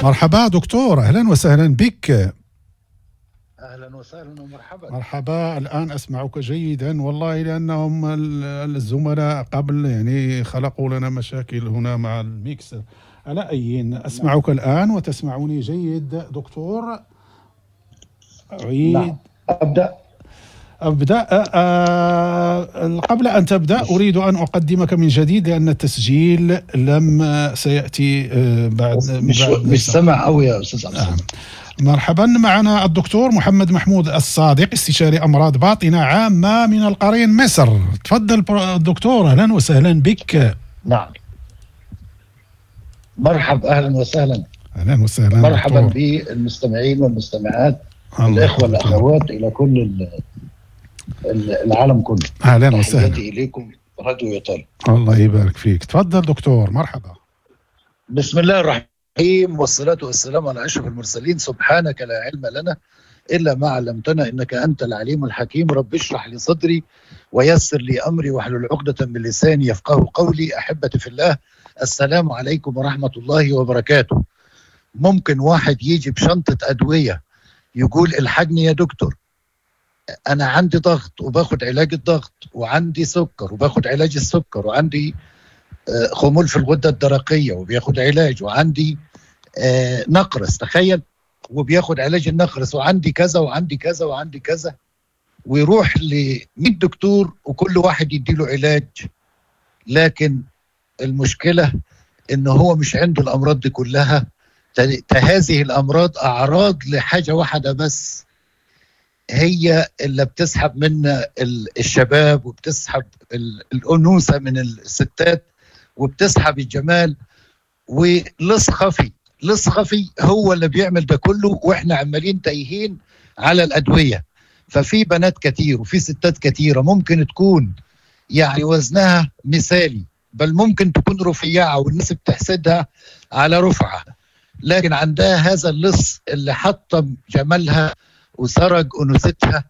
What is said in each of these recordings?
مرحبا دكتور، أهلا وسهلا بك. اهلا وسهلا ومرحبا. مرحبا، الآن أسمعك جيدا والله، لأنهم الزملاء قبل يعني خلقوا لنا مشاكل هنا مع الميكسر. على أي، أسمعك الآن وتسمعني جيد دكتور. أعيد. نعم. ابدا. أبدأ. قبل أن تبدأ أريد أن أقدمك من جديد لأن التسجيل لم سيأتي بعد. مش سامع قوي يا استاذ عبد. نعم. مرحبا، معنا الدكتور محمد محمود الصادق، استشاري أمراض باطنة عامة من القرين مصر. تفضل دكتور، أهلا وسهلا بك. نعم، مرحبا، اهلا وسهلا. أهلا وسهلا. مرحبا دكتور. بالمستمعين والمستمعات، الله الاخوة يحفظك. الاخوات، الى كل العالم كله. أهلا وسهلا. تحياتي اليكم راديو ايطاليا. الله يبارك فيك، تفضل دكتور، مرحبا. بسم الله الرحمن الرحيم، والصلاة والسلام على أشرف المرسلين. سبحانك لا علم لنا إلا ما علمتنا إنك أنت العليم الحكيم. رب اشرح لي صدري ويسر لي أمري واحلل عقدة من لساني يفقه قولي. أحبتي في الله، السلام عليكم ورحمة الله وبركاته. ممكن واحد يجي بشنطة أدوية يقول الحقني يا دكتور، أنا عندي ضغط وباخد علاج الضغط، وعندي سكر وباخد علاج السكر، وعندي خمول في الغدة الدرقية وبياخد علاج، وعندي نقرس، تخيل، وبياخد علاج النقرس، وعندي كذا وعندي كذا وعندي كذا، ويروح ل 100 دكتور وكل واحد يديله علاج. لكن المشكلة إن هو مش عنده الأمراض دي كلها. هذه الأمراض أعراض لحاجة واحدة بس، هي اللي بتسحب منا الشباب، وبتسحب الأنوثة من الستات، وبتسحب الجمال. ولص خفي، لص خفي هو اللي بيعمل ده كله، واحنا عمالين تايهين على الأدوية. ففي بنات كتير وفي ستات كتيرة ممكن تكون يعني وزنها مثالي، بل ممكن تكون رفيعة والناس بتحسدها على رفعة، لكن عندها هذا اللص اللي حطم جمالها وسرق أنوثتها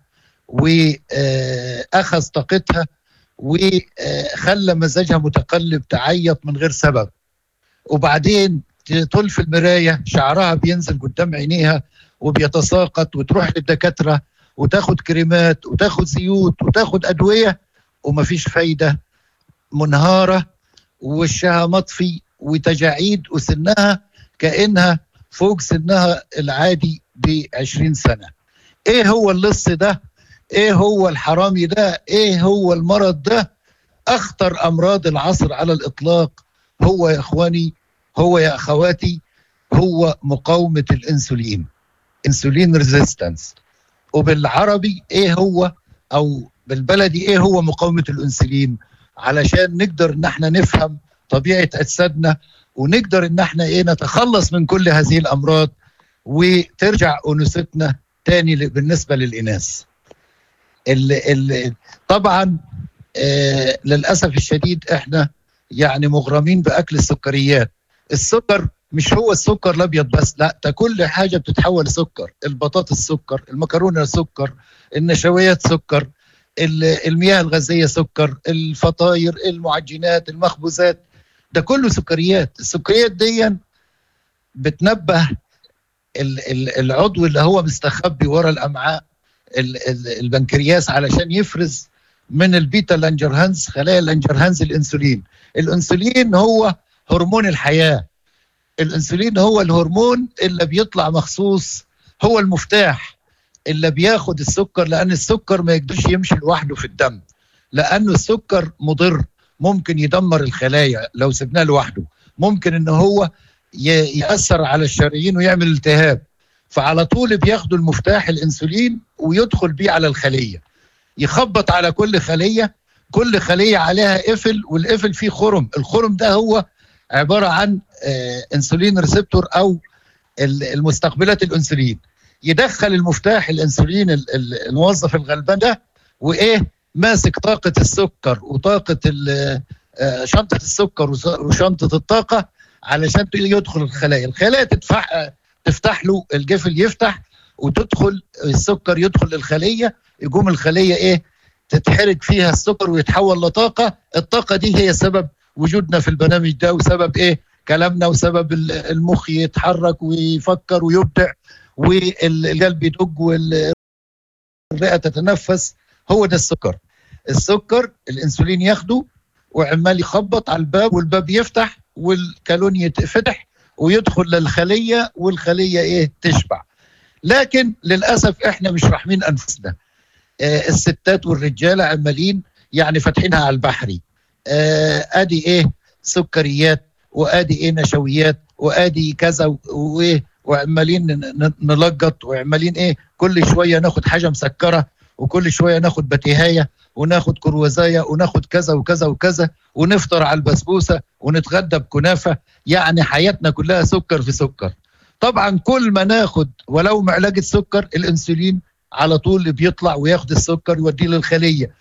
وأخذ طاقتها وخلى مزاجها متقلب، تعيط من غير سبب، وبعدين تطل في المراية شعرها بينزل قدام عينيها وبيتساقط، وتروح للدكاترة وتاخد كريمات وتاخد زيوت وتاخد أدوية ومفيش فايدة، منهارة ووشها مطفي وتجاعيد، وسنها كأنها فوق سنها العادي ب20 سنة. ايه هو اللص ده؟ ايه هو الحرامي ده؟ ايه هو المرض ده؟ اخطر امراض العصر على الاطلاق هو يا اخواني، هو يا اخواتي، هو مقاومة الانسولين، insulin resistance. وبالعربي ايه هو، او بالبلدي ايه هو مقاومة الانسولين، علشان نقدر ان احنا نفهم طبيعة اجسادنا، ونقدر ان احنا ايه نتخلص من كل هذه الامراض وترجع انوثتنا تاني بالنسبة للإناث. طبعا للأسف الشديد احنا يعني مغرمين بأكل السكريات. السكر مش هو السكر الأبيض بس، لا، ده كل حاجة بتتحول لسكر. البطاطس سكر، المكرونة سكر، النشويات سكر، المياه الغازية سكر، الفطاير، المعجنات، المخبوزات، ده كله سكريات. السكريات دي بتنبه العضو اللي هو مستخبي ورا الأمعاء، البنكرياس، علشان يفرز من البيتا لانجرهانز، خلايا لانجرهانز، الأنسولين. الأنسولين هو هرمون الحياة، الأنسولين هو الهرمون اللي بيطلع مخصوص، هو المفتاح اللي بياخد السكر، لأن السكر ما يقدرش يمشي لوحده في الدم، لأنه السكر مضر، ممكن يدمر الخلايا لو سبناه لوحده، ممكن إن هو يأثر على الشرايين ويعمل التهاب. فعلى طول بياخدوا المفتاح الأنسولين ويدخل بيه على الخلية، يخبط على كل خلية، كل خلية عليها قفل، والقفل فيه خرم، الخرم ده هو عبارة عن insulin receptor أو المستقبلات الأنسولين. يدخل المفتاح الأنسولين الموظف الغلبان ده، وإيه ماسك طاقة السكر وطاقة شنطة السكر وشنطة الطاقة علشان يدخل الخلايا. الخلايا تفتح له الجفل، يفتح وتدخل السكر، يدخل للخلية، يقوم الخلية إيه تتحرق فيها السكر ويتحول لطاقة. الطاقة دي هي سبب وجودنا في البرنامج ده، وسبب إيه كلامنا، وسبب المخ يتحرك ويفكر ويبدع، والقلب يدق والرئة تتنفس. هو ده السكر. السكر الانسولين ياخده وعمال يخبط على الباب، والباب يفتح والكالون يتفتح ويدخل للخلية، والخلية ايه؟ تشبع. لكن للأسف احنا مش راحمين أنفسنا. الستات والرجالة عمالين يعني فاتحينها على البحري، ادي ايه سكريات، وادي ايه نشويات، وادي كذا وايه، وعمالين نلقط، وعمالين ايه كل شوية ناخد حاجة مسكره، وكل شوية ناخد بتيهايه، وناخد كروزايه، وناخد كذا وكذا وكذا، ونفطر على البسبوسه، ونتغدى بكنافه. يعني حياتنا كلها سكر في سكر. طبعا كل ما ناخد ولو معلقه سكر، الانسولين على طول بيطلع وياخد السكر يوديه للخليه.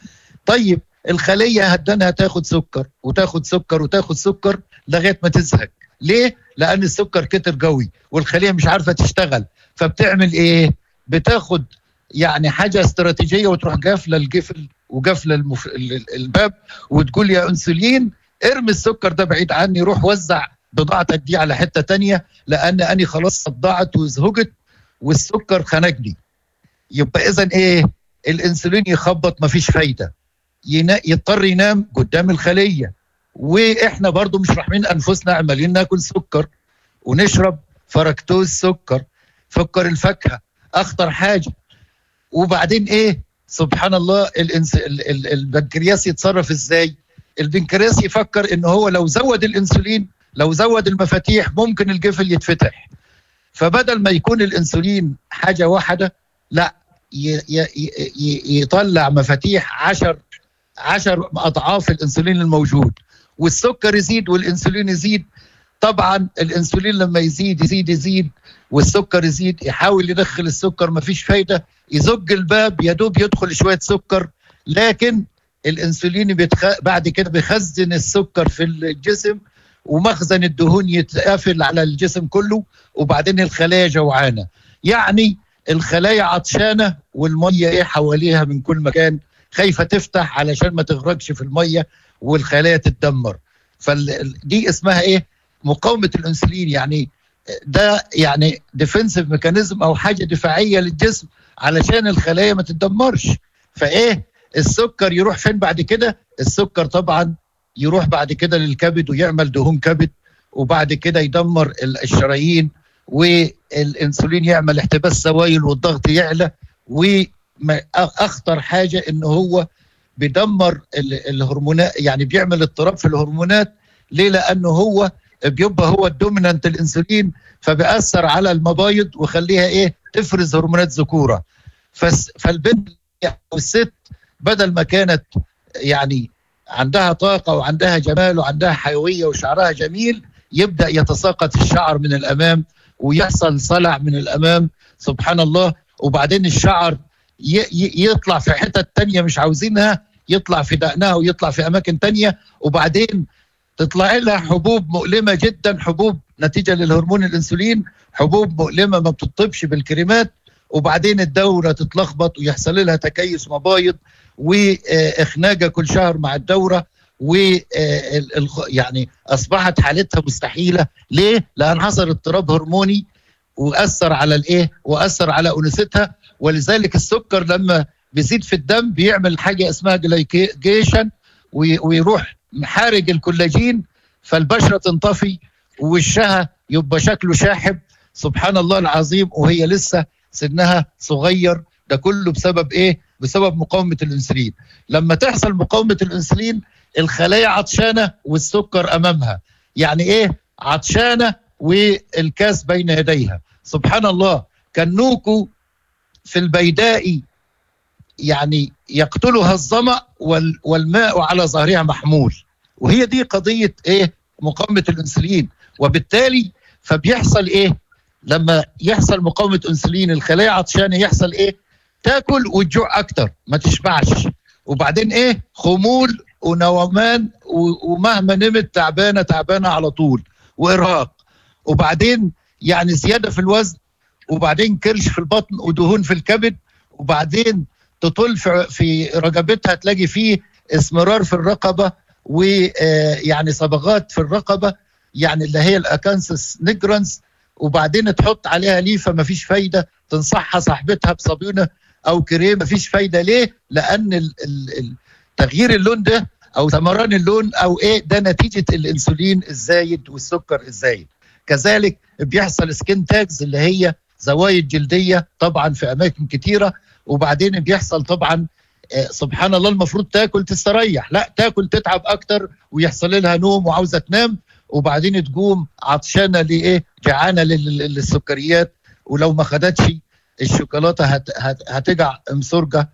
طيب الخلية هدنها تاخد سكر وتاخد سكر وتاخد سكر لغاية ما تزهق. ليه؟ لان السكر كتر قوي والخليه مش عارفه تشتغل. فبتعمل ايه؟ بتاخد يعني حاجة استراتيجية وتروح قافله القفل وقافله الباب، وتقول يا انسولين ارمي السكر ده بعيد عني، روح وزع بضاعتك دي على حتة تانية، لان انا خلاص صدعت وزهقت والسكر خنقني. يبقى اذا ايه؟ الانسولين يخبط مفيش فايده، يضطر ينام قدام الخلية. واحنا برضو مش راحمين انفسنا، عمالين ناكل سكر ونشرب فركتوز سكر، سكر الفاكهة اخطر حاجة. وبعدين ايه؟ سبحان الله، البنكرياس يتصرف ازاي؟ البنكرياس يفكر ان هو لو زود الانسولين، لو زود المفاتيح، ممكن القفل يتفتح. فبدل ما يكون الانسولين حاجة واحدة، لا، يطلع مفاتيح 10 اضعاف الانسولين الموجود، والسكر يزيد والانسولين يزيد. طبعا الانسولين لما يزيد يزيد يزيد والسكر يزيد، يحاول يدخل السكر مفيش فايده، يزج الباب يدوب يدخل شوية سكر، لكن الانسولين بعد كده بيخزن السكر في الجسم، ومخزن الدهون يتقفل على الجسم كله، وبعدين الخلايا جوعانة. يعني الخلايا عطشانة والمية ايه حواليها من كل مكان، خايفة تفتح علشان ما تغرقش في المية والخلايا تتدمر. فدي اسمها ايه؟ مقاومة الانسولين. يعني ده يعني defensive mechanism او حاجة دفاعية للجسم علشان الخلايا ما تتدمرش. فايه السكر يروح فين بعد كده؟ السكر طبعا يروح بعد كده للكبد ويعمل دهون كبد، وبعد كده يدمر الشرايين، والانسولين يعمل احتباس سوائل والضغط يعلى. واخطر حاجة ان هو بيدمر الهرمونات، يعني بيعمل اضطراب في الهرمونات. ليه؟ لانه هو بيبقى هو ال dominant الانسولين، فبيأثر على المبايض وخليها ايه؟ تفرز هرمونات ذكوره. فالبنت او الست بدل ما كانت يعني عندها طاقة وعندها جمال وعندها حيوية وشعرها جميل، يبدا يتساقط الشعر من الامام ويحصل صلع من الامام، سبحان الله. وبعدين الشعر يطلع في حتت تانية مش عاوزينها، يطلع في دقنها ويطلع في اماكن تانية، وبعدين تطلع لها حبوب مؤلمة جدا، حبوب نتيجة للهرمون الانسولين، حبوب مؤلمة ما بتطبش بالكريمات. وبعدين الدورة تتلخبط ويحصل لها تكيس مبايض واخناجه كل شهر مع الدورة، و يعني اصبحت حالتها مستحيلة. ليه؟ لان حصل اضطراب هرموني واثر على الايه؟ واثر على انوثتها. ولذلك السكر لما بيزيد في الدم بيعمل حاجة اسمها glycation، ويروح محارج الكولاجين، فالبشره تنطفي ووشها يبقى شكله شاحب، سبحان الله العظيم، وهي لسه سنها صغير. ده كله بسبب ايه؟ بسبب مقاومة الانسولين. لما تحصل مقاومة الانسولين الخلايا عطشانة والسكر امامها، يعني ايه؟ عطشانة والكاس بين يديها. سبحان الله، كنوكو في البيداء يعني يقتلها الظمأ والماء على ظهرها محمول. وهي دي قضية ايه؟ مقاومة الانسولين. وبالتالي فبيحصل ايه؟ لما يحصل مقاومة انسولين الخلايا عطشانة، يحصل ايه؟ تاكل وتجوع اكتر، ما تشبعش، وبعدين ايه؟ خمول ونومان، ومهما نمت تعبانة تعبانة على طول، وارهاق، وبعدين يعني زيادة في الوزن، وبعدين كرش في البطن ودهون في الكبد، وبعدين تطل في رقبتها تلاقي فيه اسمرار في الرقبة، ويعني صبغات في الرقبة. يعني اللي هي ال acanthosis nigricans، وبعدين تحط عليها ليفه مفيش فايده، تنصحها صاحبتها بصابونه او كريم مفيش فايده. ليه؟ لان تغيير اللون ده او ثمران اللون او ايه ده نتيجة الانسولين الزايد والسكر الزايد. كذلك بيحصل skin tags اللي هي زوايد جلدية طبعا في اماكن كتيرة. وبعدين بيحصل طبعا سبحان الله، المفروض تاكل تستريح، لا تاكل تتعب اكتر ويحصل لها نوم وعاوزه تنام، وبعدين تقوم عطشانة لايه؟ جعانة للسكريات، ولو ما خدتش الشوكولاتة هتجع مسرجه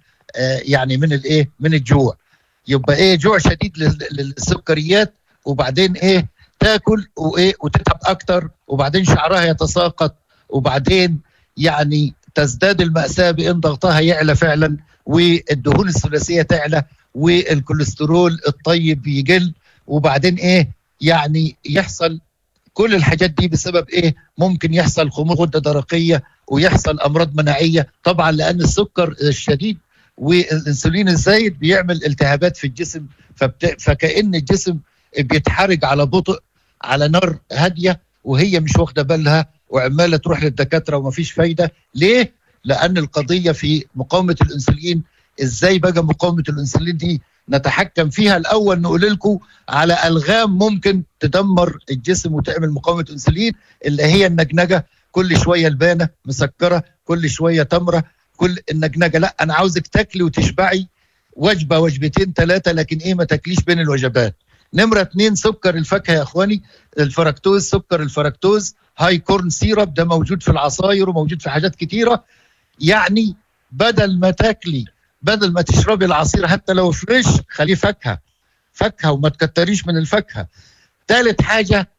يعني من الايه؟ من الجوع. يبقى ايه؟ جوع شديد للسكريات، وبعدين ايه؟ تاكل وايه؟ وتتعب اكتر، وبعدين شعرها يتساقط، وبعدين يعني تزداد المأساة بإن ضغطها يعلى فعلا، والدهون الثلاثية تعلى، والكوليسترول الطيب يقل، وبعدين ايه؟ يعني يحصل كل الحاجات دي بسبب ايه؟ ممكن يحصل خمول غدة درقية ويحصل أمراض مناعية طبعا، لأن السكر الشديد والإنسولين الزايد بيعمل التهابات في الجسم، فكأن الجسم بيتحرج على بطء على نار هادية وهي مش واخدة بالها، وعمالة تروح للدكاترة ومفيش فايدة. ليه؟ لأن القضية في مقاومة الأنسولين. إزاي بقى مقاومة الأنسولين دي نتحكم فيها؟ الأول نقول لكم على ألغام ممكن تدمر الجسم وتعمل مقاومة أنسولين، اللي هي النجنجة، كل شوية لبانة مسكرة، كل شوية تمرة، كل النجنجة. لا، أنا عاوزك تاكلي وتشبعي وجبة وجبتين ثلاثة، لكن إيه؟ ما تاكليش بين الوجبات. نمرة 2 سكر الفاكهة يا إخواني، الفركتوز، سكر الفركتوز، high corn syrup، ده موجود في العصاير وموجود في حاجات كتيرة. يعني بدل ما تاكلي، بدل ما تشربي العصير حتى لو fresh، خليه فاكهة، فاكهة، وما تكتريش من الفاكهة. ثالث حاجة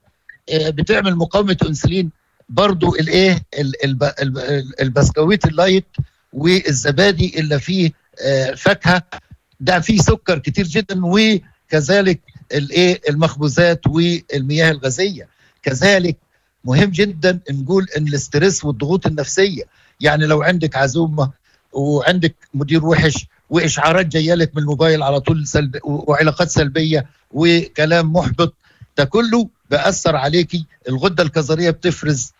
بتعمل مقاومة أنسولين برضو الايه؟ البسكويت ال light والزبادي اللي فيه فاكهة، ده فيه سكر كتير جدا، وكذلك الايه؟ المخبوزات والمياه الغازية. كذلك مهم جدا نقول ان ال stress والضغوط النفسية، يعني لو عندك عزومة وعندك مدير وحش واشعارات جاية لك من الموبايل على طول وعلاقات سلبية وكلام محبط، ده كله بأثر عليكي. الغدة الكظريه بتفرز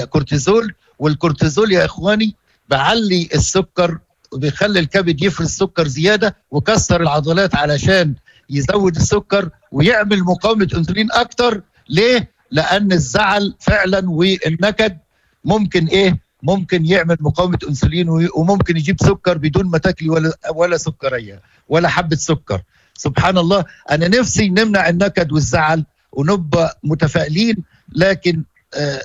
كورتيزول، والكورتيزول يا اخواني بعلي السكر وبيخلي الكبد يفرز سكر زيادة وكسر العضلات علشان يزود السكر ويعمل مقاومة انسولين اكتر. ليه؟ لان الزعل فعلا والنكد ممكن ايه؟ ممكن يعمل مقاومة انسولين، وممكن يجيب سكر بدون ما تاكلي ولا سكريه ولا حبه سكر. سبحان الله، انا نفسي نمنع النكد والزعل ونبقى متفائلين، لكن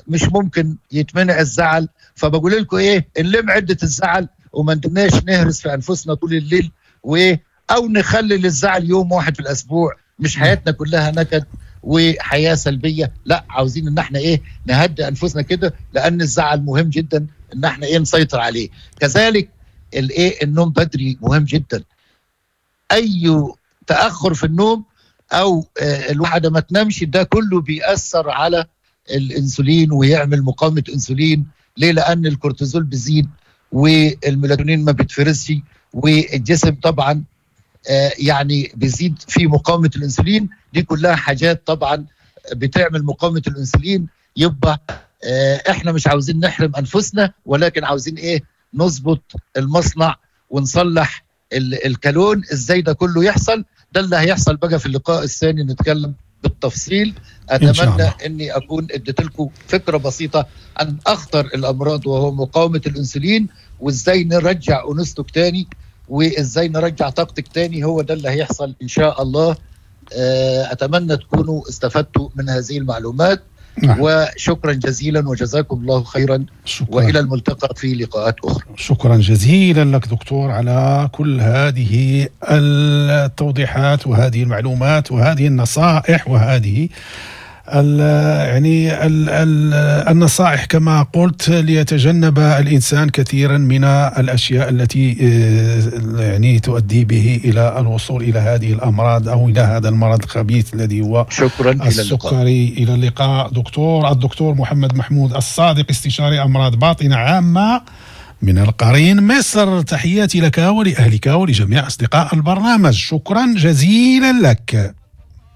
مش ممكن يتمنع الزعل. فبقول لكم ايه؟ نلم عده الزعل وما ندناش نهرس في انفسنا طول الليل، وايه؟ او نخلي للزعل يوم واحد في الاسبوع، مش حياتنا كلها نكد وحياه سلبية. لا، عاوزين ان احنا ايه؟ نهدي انفسنا كده، لان الزعل مهم جدا ان احنا ايه؟ نسيطر عليه. كذلك الايه؟ النوم بدري مهم جدا. اي تاخر في النوم او الواحدة ما تنامش، ده كله بيأثر على الانسولين ويعمل مقاومة انسولين. ليه؟ لان الكورتيزول بيزيد والميلاتونين ما بيتفرزش، والجسم طبعا يعني بيزيد في مقاومة الانسولين. دي كلها حاجات طبعا بتعمل مقاومة الانسولين. يبقى احنا مش عاوزين نحرم انفسنا، ولكن عاوزين ايه؟ نظبط المصنع ونصلح الكالون. ازاي ده كله يحصل؟ ده اللي هيحصل بقى في اللقاء الثاني، نتكلم بالتفصيل. اتمنى اني اكون اديت لكم فكرة بسيطة عن اخطر الامراض وهو مقاومة الانسولين، وازاي نرجع انوثتك تاني، وازاي نرجع طاقتك تاني. هو ده اللي هيحصل ان شاء الله. اتمنى تكونوا استفدتوا من هذه المعلومات. نعم. وشكرا جزيلا وجزاكم الله خيرا. شكرا. وإلى الملتقى في لقاءات أخرى. شكرا جزيلا لك دكتور على كل هذه التوضيحات وهذه المعلومات وهذه النصائح وهذه يعني النصائح كما قلت، ليتجنب الإنسان كثيرا من الأشياء التي يعني تؤدي به إلى الوصول إلى هذه الأمراض أو إلى هذا المرض الخبيث الذي هو شكرا. السكري. إلى اللقاء دكتور. الدكتور محمد محمود الصادق، استشاري أمراض باطنة عامة من القرين مصر، تحياتي لك ولأهلك ولجميع أصدقاء البرنامج. شكرا جزيلا لك.